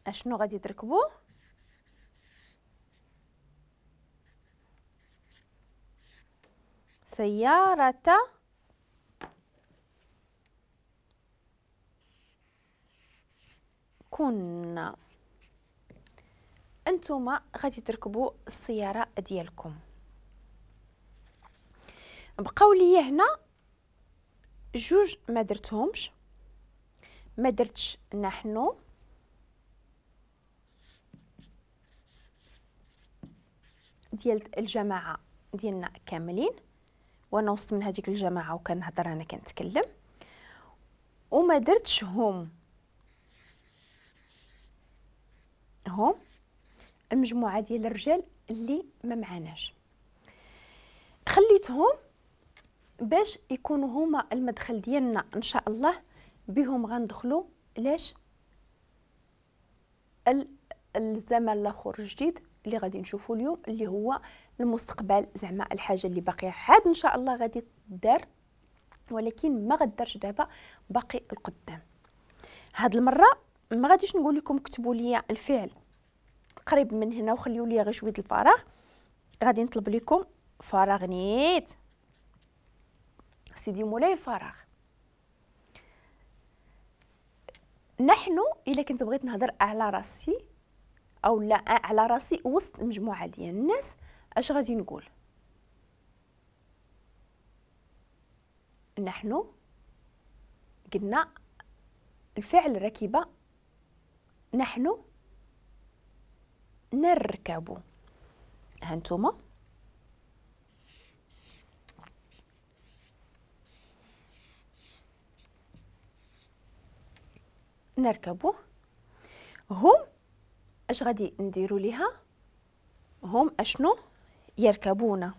اشنو غادي تركبوا؟ سيارة كنا. انتما غادي تركبوا السيارة ديالكم. بقاو لي هنا جوج ما درتهمش، ما درتش نحن ديال الجماعة ديالنا كاملين، وانا وسط من هذيك الجماعة وكنهضر انا كنتكلم، وما درتش هم، هم المجموعة ديال الرجال اللي ما معناش، خليتهم باش يكونوا هما المدخل ديالنا ان شاء الله، بهم غندخلوا لاش الزمن الاخر الجديد اللي غادي نشوفوا اليوم اللي هو المستقبل، زعما الحاجة اللي باقية عاد ان شاء الله غادي تدار، ولكن ما غدارش دابا، باقي القدام. هاد المرة ما غاديش نقول لكم كتبوا لي الفعل قريب من هنا وخليوا لي غير شوية الفراغ، غادي نطلب لكم فراغ نيت سيدي مولاي الفراغ. نحن الا كنت بغيت نهضر على راسي او لا على راسي وسط مجموعة ديال الناس، اش غادي نقول؟ نحن قلنا الفعل ركب، نحن نركب. هانتوما نركبو. هم اش غادي نديرو ليها؟ هم اشنو؟ يركبون.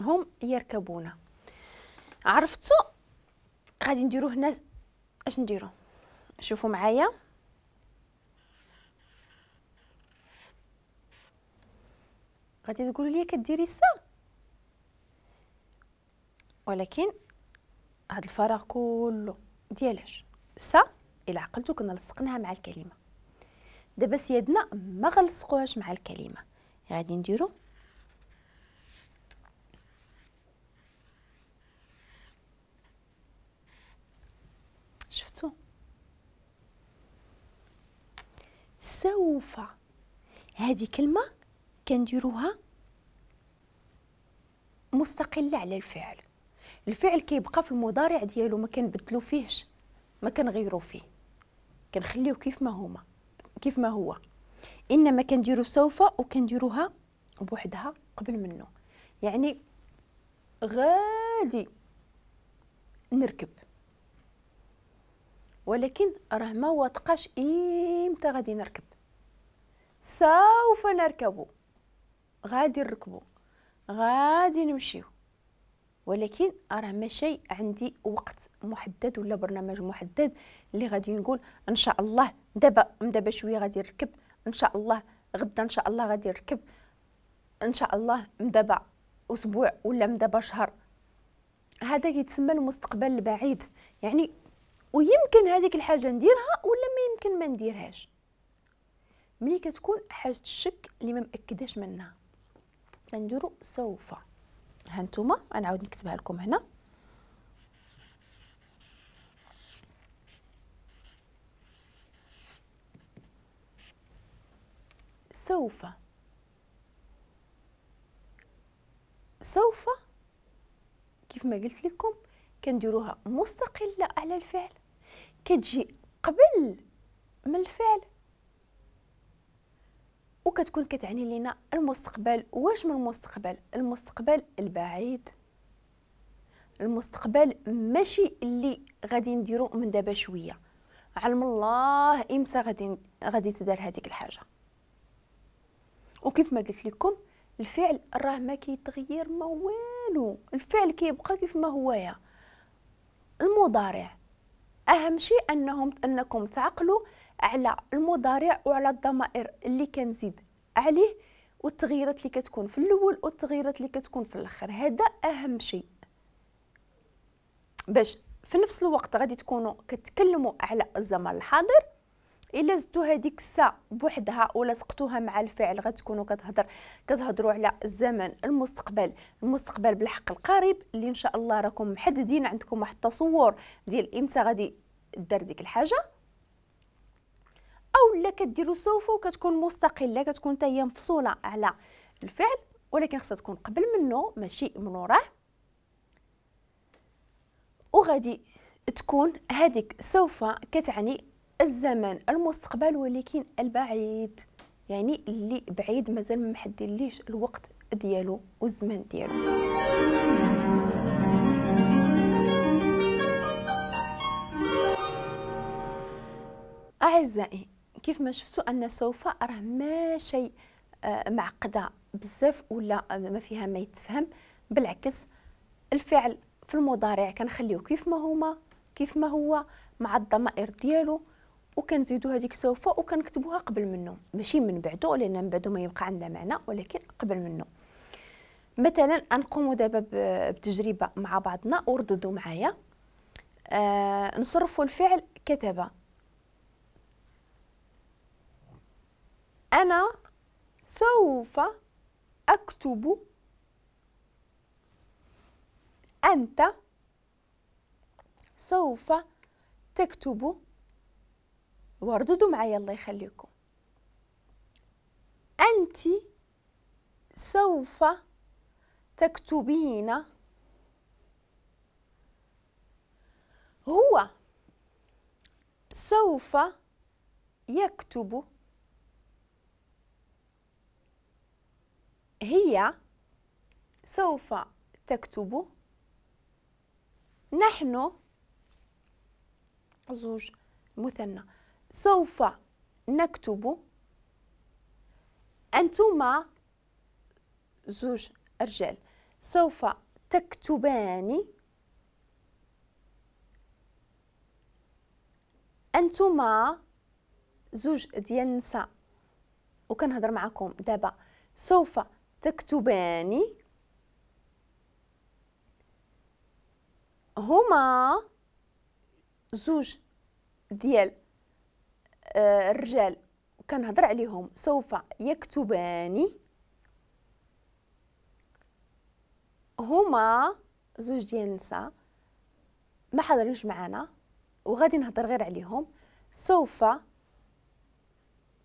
هم يركبون. عرفتو غادي نديرو هنا اش نديرو؟ شوفوا معايا، غادي تقولوا لي كديري سا، ولكن هاد الفراغ كله ديالاش؟ سا الى عقلتو كنا لصقناها مع الكلمة، دابا سيادنا ما غنلصقوهاش مع الكلمة، غادي نديرو شفتو سوف. هذه كلمة كنديروها مستقلة على الفعل، الفعل كيبقى في المضارع ديالو، ما كنبدلو فيهش، ما كنغيرو فيه، كنخليوه كيف ما هما كيف ما هو، انما كنديرو سوف وكنديروها بوحدها قبل منه. يعني غادي نركب، ولكن راه ما واثقاش امتى غادي نركب. سوف نركب، غادي نركبو، غادي نمشيو، ولكن راه ماشي عندي وقت محدد ولا برنامج محدد اللي غادي نقول ان شاء الله دابا دابا شوية غادي نركب، ان شاء الله غدا ان شاء الله غادي نركب، ان شاء الله دابا اسبوع ولا دابا شهر. هذا كيتسمى المستقبل البعيد، يعني ويمكن هذيك الحاجة نديرها ولا ما يمكن ما نديرهاش، ملي كتكون حاجة الشك اللي ما مأكداش منها نديرو سوف. ها نتوما غنعاود نكتبها لكم هنا. سوف، سوف كيف ما قلت لكم كنديروها مستقلة على الفعل، كتجي قبل من الفعل وكتكون كتعني لنا المستقبل. واش من المستقبل؟ المستقبل البعيد، المستقبل ماشي اللي غادي نديرو من دابا شوية، علم الله امتى غادي تدار هذيك الحاجة. وكيف ما قلت لكم الفعل راه ما كيتغير ما والو، الفعل كيبقى كيف ما هو. يا المضارع اهم شيء انكم تعقلوا على المضارع وعلى الضمائر اللي كنزيد عليه والتغييرات اللي كتكون في الاول والتغييرات اللي كتكون في الاخر. هذا اهم شيء باش في نفس الوقت غادي تكونوا كتكلموا على الزمن الحاضر. الا زدتوا هذيك السا بوحدها ولا سقطوها مع الفعل غتكونوا كتهضروا على الزمن المستقبل، المستقبل بالحق القريب اللي ان شاء الله راكم محددين، عندكم واحد التصور ديال امتى غادي دار ديك الحاجة. او لا كديروا سوف وكتكون مستقلة، كتكون حتى هي مفصوله على الفعل، ولكن خصها تكون قبل منه ماشي من وراه. وغادي تكون هذيك سوف كتعني الزمن المستقبل ولكن البعيد، يعني اللي بعيد مازال ما محددليش الوقت ديالو والزمن ديالو. اعزائي كيف ما شفتوا ان سوف راه ماشي معقدة بزاف ولا ما فيها ما يتفهم، بالعكس الفعل في المضارع كنخليو كيف ما هما كيف ما هو مع الضمائر ديالو، وكنزيدو هذيك سوف وكنكتبوها قبل منه ماشي من بعده، لان من بعده ما يبقى عندها معنى، ولكن قبل منه. مثلا نقوموا دابا بتجربه مع بعضنا ورددوا معايا. نصرفوا الفعل كتب. أنا سوف أكتب، أنت سوف تكتب. ورددوا معايا الله يخليكم. أنت سوف تكتبين، هو سوف يكتب، هي سوف تكتب، نحن زوج مثنى سوف نكتب، أنتما زوج رجال سوف تكتبان، أنتما زوج ديال النساء وكنهضر معكم دابا سوف تكتبان، هما زوج ديال الرجال كنهضر عليهم سوف يكتبان، هما زوج ديال النساء ما حاضرينش معنا وغادي نهضر غير عليهم سوف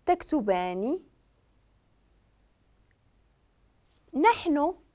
تكتبان، نحن